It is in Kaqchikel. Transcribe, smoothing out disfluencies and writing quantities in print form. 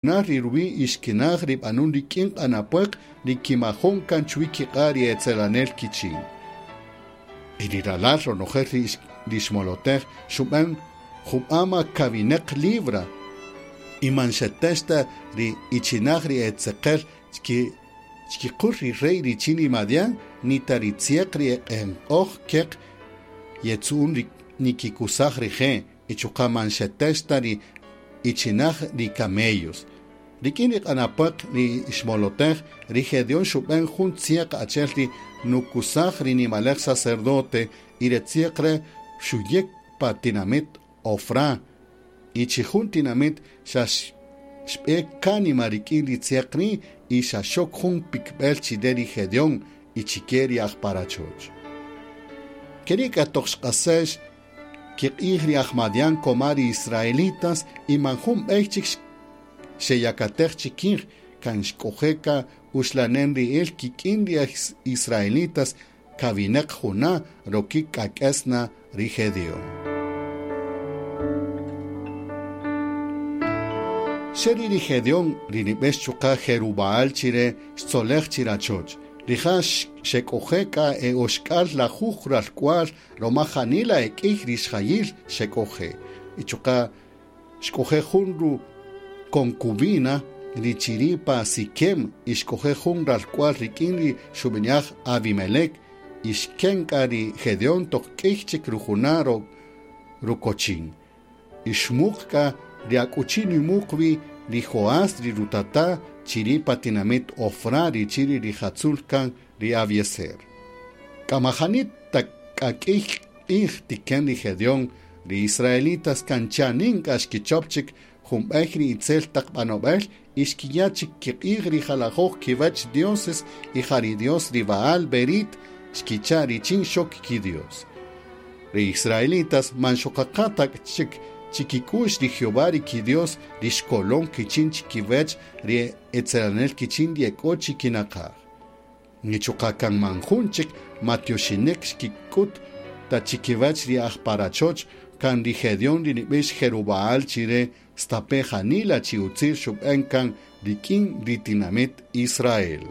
Ri ruwi' ixkinaj ri b'anun rik'in q'anapwaq ri kimajon kan chuwi kiq'a' ri etzelanel kichin. Y ri ralal ronojel ri xmolotej xub'an jub'ama kawineq libra y man xetex ta ri ichinaj ri etzeqel chkiqul ri rey richin ri Madian ni ta ri tzieq ri eq'enq'oj keq yetzu'un ri nikikusaj rije' y chuqa' man xetex ta ri ichinaj ri camellos. Rik'in ri q'anapwaq ri xmolotej ri Gedeón xub'an jun tzieq achel ri nukusaj ri nimalej sacerdote y ri tzieq re' xuyek pa tinamit Ofra y chi jun tinamit xa xb'e kanima rik'in ri tzieq ri' y xa xok jun pikb'el chire ri Gedeón y chike ri aj parachoch. Keri' k'a toq xq'asex kiq'ij ri aj Madian koma ri israelitas y man jun b'ey chik xeyakatej chikij kan xk'oje' ka uxlanen ri'il kik'in ri israelitas kawineq juna' rokik k'ak'esna ri Gedeón. Xeri ri Gedeón ri nib'ex chuqa' Jerubaal chire xtzolej chirachoch. Rija' xek'oje' k'a e oxk'al lajuj ralk'wal roma janila ek'ij ri xjayil xek'oje'. Y chuqa' xk'oje' jun ru concubina ri chiri' pa Siquem y xk'oje' jun ralk'wal rik'in ri xub'ini'aj Abimelec y xken k'a ri Gedeón toq k'ij chik rujuna' rukochin. Y xmuq k'a ri akuchi nimuq wi ri Joás ri rutata chiri' pa tinamit Ofra ri chiri' rijatzul kan ri Abiezer. K'amajani ta k'a k'ij q'ij tiken ri Gedeón ri israelitas kan chanin k'a xkichop chik jun b'ey ri itzel taq b'anob'el y xkiya' chik kiq'ij ri jalajoj kiwach dioses y ja ri Dios ri Baal Berit xkicha' richin xok kidios. Ri israelitas man xoqaqa ta chik chikik'u'x ri Jehová ri kidios ri xkolon kichin chikiwach ri etzelanel kichin ri ek'o chikinaqaj. Ni chuqa' kan man jun chik matioxinek xkik'ut ta chikiwach ri aj parachoch kan ri Gedeón ri nib'ix Jerubaal chire stape janila chi utzil xub'an kan rik'in ri tinamit Israel.